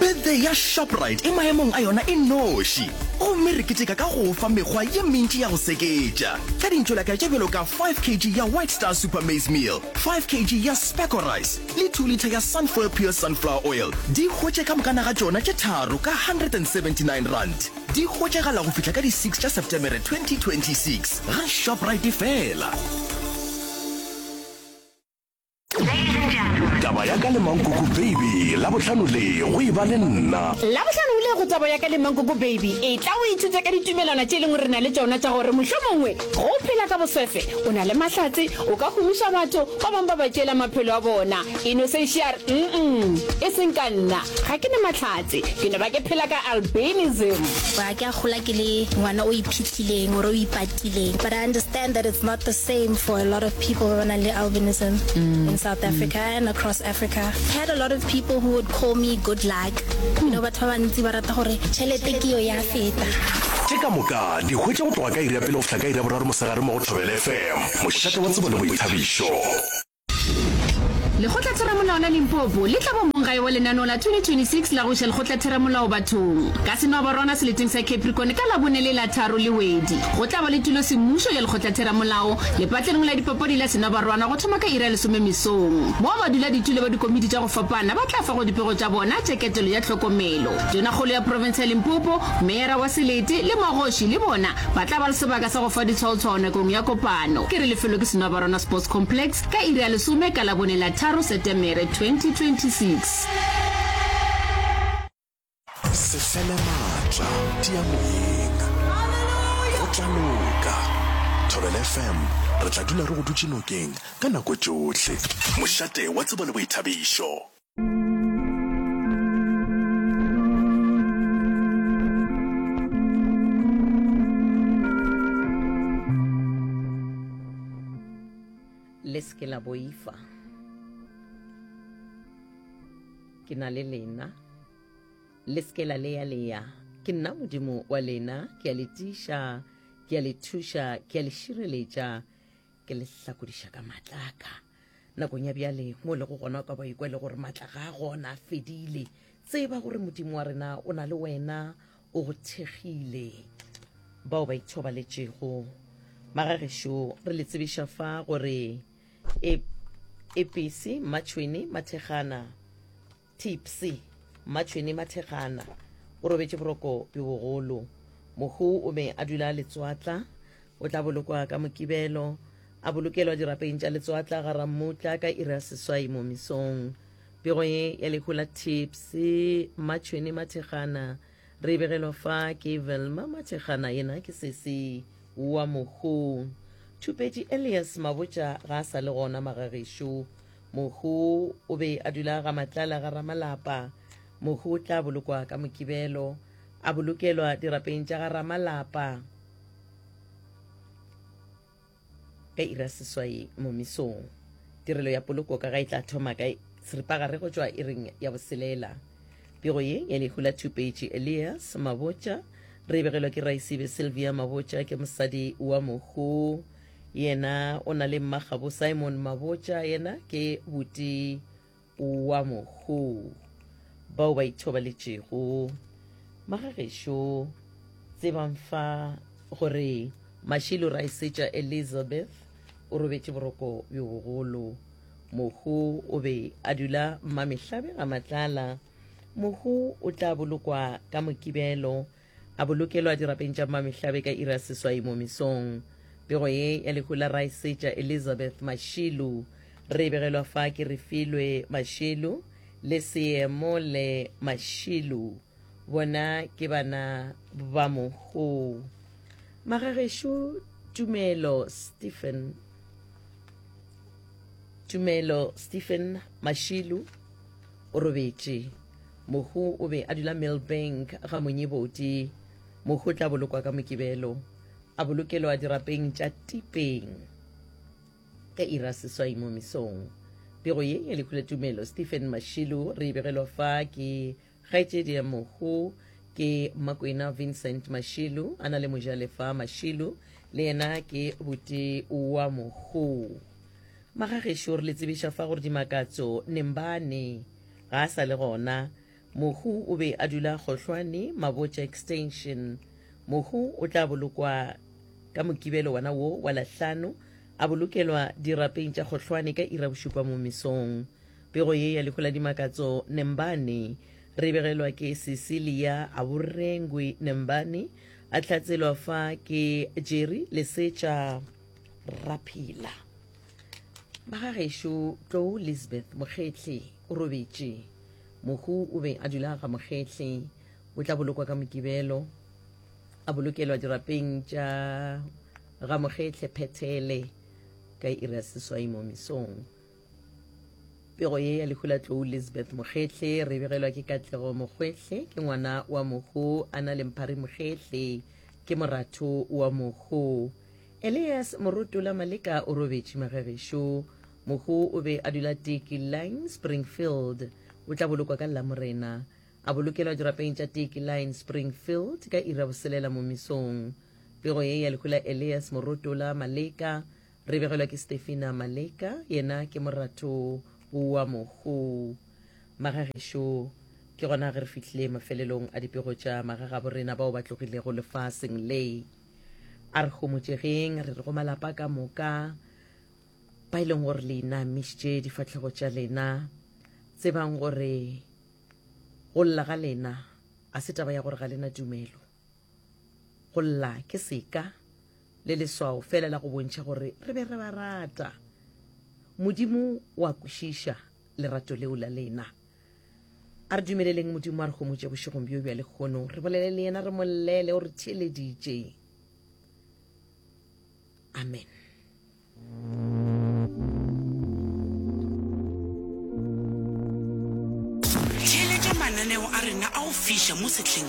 Birthday ya Shoprite e maemong a yona e noši, gomme re keteka ka go o fa mekgwa ye mentši ya go seketša. Ka dintšolaka tše bjalo ka 5 kg ya White Star Super Maize Meal, 5 kg ya Specco Rice le 2 litha ya Sunfoil Pure Sunflower Oil, di hwetše ka mokana ga tšona tše tharo ka R179. Di hwetšagala go fihla ka di 6 tša Setemere 2026 ga Shoprite fela. Taba ya ka le Mankoko Baby, Labohlano le go e ba le nna. Labohlano le go Taba ya ka le Mankoko Baby, etla o ithute ka ditumelwana tše e leng gore re na le tšona tša gore mohlomongwe ge o phela ka boswefe, o na le mahlatse, o ka humiša batho, ba bangwe ba ba tšeela maphelo a bona. Innocentia a re, Mm-mm, e seng ka nna, ga ke na mahlatse, ke no ba ke phela ka albinism. Ga ke a gola ke le ngwana o iphihlileng or o ipatileng but I understand that it's not the same for a lot of people ba ba nang le albinism in South Africa and across Africa. I had a lot of people who would call me good luck. You know, batho ba bantsi ba rata gore tšhelete ke yo ya feta. Tše ka moka di hwetše go tloga ka iri ya pele go fihla ka iri ya boraro mosegare mo go Thobela FM, mošate wa tsebo le boithabišo. Lekgotlatheramolao la Limpopo le tla ba monggae wa lenaneo la 2026 la go iša lekgotlatheramolao bathong ka Senwabarwana seleteng sa Capricorn ka Labone le la tharo Lewedi. Go tla ba le tulo semmušo ya lekgotlatheramolao lepatlelong la dipapadi la Senwabarwana go thoma ka iri ya lesome mesong, moo baduladitulo ba dikomiti tša go fapana ba tla fago dipego tša bona tša ketelo ya tlhokomelo. Tonakgolo ya profense ya Limpopo, meyara wa selete le magoši le bona Ba tla ba le sebaka sa go fa ditshwaotshwao nakong ya kopano. Ke re lefelo ke Senwabarwana Sports Complex ka iri ya lesome ka Labone la tharo Setemere 2026. Se fele maatla, tia moyeng. Go tla loka. Thobela FM, re tla dula re go dutše nokeng ka nako tšohle. Mošate wa tsebo le boithabišo. Le se ke la boifa. Ke na le lena. Le se ke la leya-leya. Ke nna Modimo wa lena. Ke a le tiiša, ke a le thuša, ke a le šireletša, ke le hlakodiša ka matla a ka. Nakong ya bjale, mo o lego gona o ka ba ikwa e le gore matla ga a gona, a fedile. Tseba gore Modimo wa rena o na le wena, o go thekgile. Bao ba ithobaletšego, magagešo, re le tsebiša fa gore e, Episi, Mmatšhweni, Mathekgana, Tipsy Mmatšhwene Mathekgana o robetše boroko bjo bogolo. Mohu o be a dula Letswatla. O tla bolokwa ka Mokibelo, a bolokelwa dirapeng tša Letswatla ga Rammutla ka iri ya seswai mo mesong. Pego ye ya lehu la Tipsy Mmatšhwene Mathekgana re e begelwa fa ke Velma Mathekgana, yena ke sesi wa mohu. Thupetši Elias Mabotja ga a sa le gona magagešo. Mohu o be a dula ga Matlala ga Ramalapa. Mohu o tla bolokwa ka Mokibelo, a bolokelwa dirapeng tša ga Ramalapa ka iri ya seswai mo mesong. Tirelo ya poloko ka ga e tla thoma ka seripagare go tšwa iring ya boselela. Pego ye ya lehu la Thupetši Elias Mabotja re e begelwa ke Raisibe Sylvia Mabotja, ke mosadi wa mohu. Yena o na le mmagabo Simon Mabotja, yena ke buti wa mohu. Bao ba ithobaletšego magagešo, tsebang fa gore Mashilo Raesetša Elizabeth o robetše boroko bjo bogolo. Mohu o be a dula Mmamehlabe ga Matlala. Mohu o tla bolokwa ka Mokibelo A bolokelwa dirapeng tša Mmamehlabe ka iri ya seswai mo mesong. Pego ye ya lehu la Raesetša Elizabeth Mashilu re e begelwa fa ke Refilwe Mashilu le Seemole Mashilu. Bona ke bana ba mohu. Magagešo Tumelo Stephen Tumelo Stephen Mashilu o robetše. Mohu o be a dula Millbank ga Monyebodi. Mohu o tla bolokwa ka Mokibelo, a bolokelwa dirapeng tša Tipeng ka iri ya seswai mo mesong. Pego ye ya lehu la Tumelo Stephen Mashilu re e begelwa fa ke kgaetšedi ya mohu ke Makwena Vincent Mashilu a na le mojalefa Mashilu le yena ke buti wa mohu. Magagešo re le tsebiša fa gore Dimakatso Nembane ga a sa le gona. Mohu o be a dula Kgohlwane, Mabotja Extension. Mohu o tla bolokwa ka Mokibelo wona wo wa Lahlano, a bolokelwa dirapeng tša Kgohlwane ka ira bošupa mo mesong. Pego ye ya lehu la Dimakatso Nembane re begelwa ke Cecilia Aborengwe Nembane, a hlatselwa fa ke Jerry Lesetša Raphela. Magagešo Tlou Lisbeth Mokgehle o robetše. Mohu o be a dula ga Mokgehle. O tla bolokwa ka Mokibelo, a bolokelwa dirapeng tša ga Mokgehle Phethele ka iri ya seswai mo mesong. Pego ye ya lehu la Tlou Lisbeth Mokgehle re begelwa ke Katlego Mokgwehle, ke ngwana wa mohu a na le Mphari Mokgehle, ke moratho wa mohu. Elias Morotola Maleka o robetše magagešo. Mohu o be a dula Teki Line, Springfield. O tla bolokwa ka Lamorena. A bolokelwa dirapeng tša Teki Line, Springfield ka iri ya boselela mo mesong. Pego ye ya lehu la Elias Morotola Maleka re begelwa ke Stefina Maleka, yena ke moratho wa mohu. Magagešo, ke gona ge re fihlile mafelelong a dipego tša magagabo rena bao ba tlogilego lefaseng le. A re homotšegeng, re re go malapa ka moka ba e leng gore le inamišitše difahlego tša lena, tsebang gore go lla ga lena a se taba ya gore ga lena tumelo. Go lla ke seka le leswao fela la go bontšha gore re be re ba rata. Modimo o a kwešiša lerato leo la lena. A re dumeleleng Modimo a re homotše bošegong bjo bja lehono, re bolele le yena, re mo llele, o re theeleditše. Amen. Theeletša mananeo a rena a go fiša mo sehleng.